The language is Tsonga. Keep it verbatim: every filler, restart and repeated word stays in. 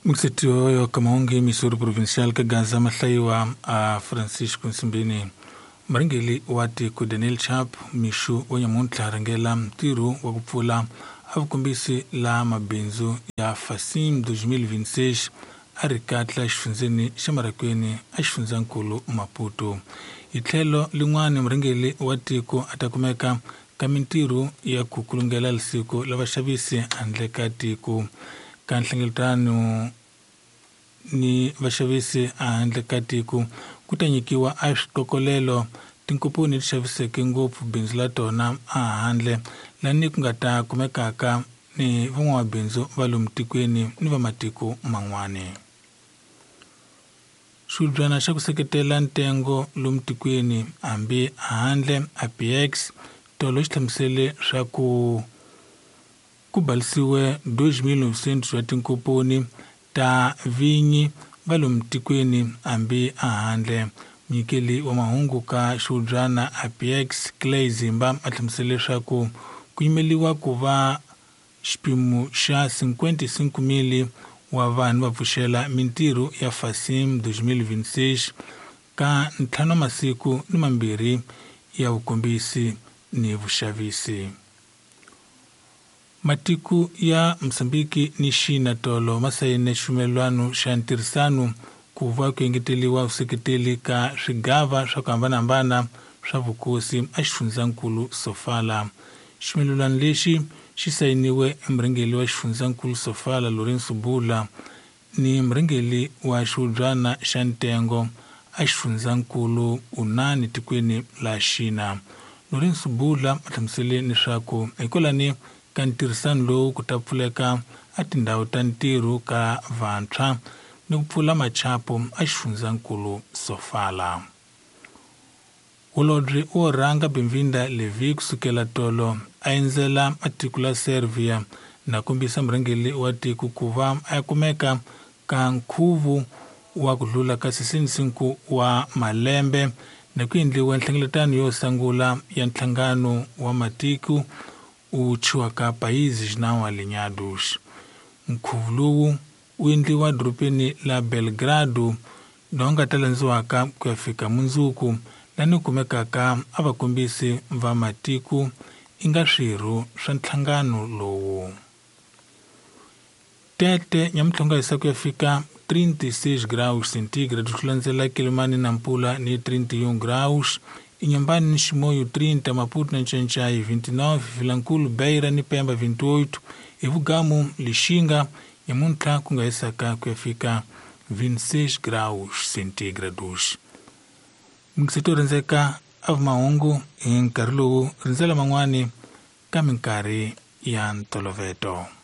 Mxetioyo kamaungi Missouri Provincial ka Gaza mahlayiwa a Francisco Nsimbini. Murhangeri wa tiko Daniel Chapo mixo wa nyamuntlha rhangela ntirho wa ku pfula a vukombisi la mabindzu ya Fasim twenty twenty-six a ri katla xifundzeni xa Marikweni a xifundzankulu Maputo. Hi tlhelo lin'wana murhangeri wa tiko a ta kumeka ka mintirho ya ku kulungela lisiko la vaxavisi handle ka tiko. Ka nhlengeletano ni vaxavisi handle ka tiko ku ta nyikiwa a switokolelo tinkomponi leti xaviseke ngopfu bindzu la tona a handle lani ku nga ta kumekaka ni van'wamabindzu va lomu tikweni ni va matiko man'wani. Xibyana xa ku seketela ntengo lomu tikweni hambi handle A P X tolo xi hlamusele swa ku ku balisiwe two mil novecentos wa tinkomponi ta vinyi va lomu tikweni hambi handle. Munyikeli wa mahungu ka xiubyana A P X Clay Zimba a hlamusele leswaku ku yimeliwa ku va xipimo xa cinquenta e cinco mil wa vanhu va pfuxela mintirho ya Fasim twenty twenty-six ka ntlhanu wa masiku ni mambirhi ya vukombisi ni vuxavisi. Matiko ya Mozambiki ni China tolo ma sayine xivumelwano xa ntirhisano ku va ku engeteriwa vuseketeli ka swigava swa ku hambanahambana swa vukosi a xifundzankulu Sofala. Xivumelwano lexi xi sayiniwe emurhangeri wa xifundzankulu Sofala Lourenço Bula ni murhangeri wa xiubyana xa ntengo a xifundzankulu Unani tikweni la China. Lourenço Bula a hlamusele leswaku hikwalani ka ntirhisano lowu ku ta pfuleka a tindhawu ta ntirho ka vantshwa ni ku pfula machapo a xifundzankulu Sofala. Holobye wo rhanga Benvinda Levi kusukela tolo a endzela a tiko la Serbia na kombisa murhangeri wa tiko ku va a kumeka ka nkhuvo wa ku hlula ka sixty-cinco wa malembe na ku endliwa nhlengeletano yo sungula ya nhlangano wa matiko u chiwaka Países Não Alinhados. Nkhuvo lowu wu endliwa dorobeni la Belgrado lowu nga ta landziwaka ku ya fika mundzuku lani kumekaka a vakombisi va matiko i nga swirho swa nhlangano lowu. Tete nyamutlhonga hisa ku ya fika trinta e seis graus centígrados ku landzela Quelimane na Nampula ni trinta e um graus, Inhambane ni Chimoio trinta, Maputo na Nchainchai vinte e nove, Vilankulo, Beira ni Pemba vinte e oito, Evugamu, Lixinga nyamuntlha ku nga hisaka ku ya fika vinte e seis graus centígrados. Mixeto rindzeka a mahungu hi nkarhi lowu rindzela man'wani ka minkarhi ya ntoloveto.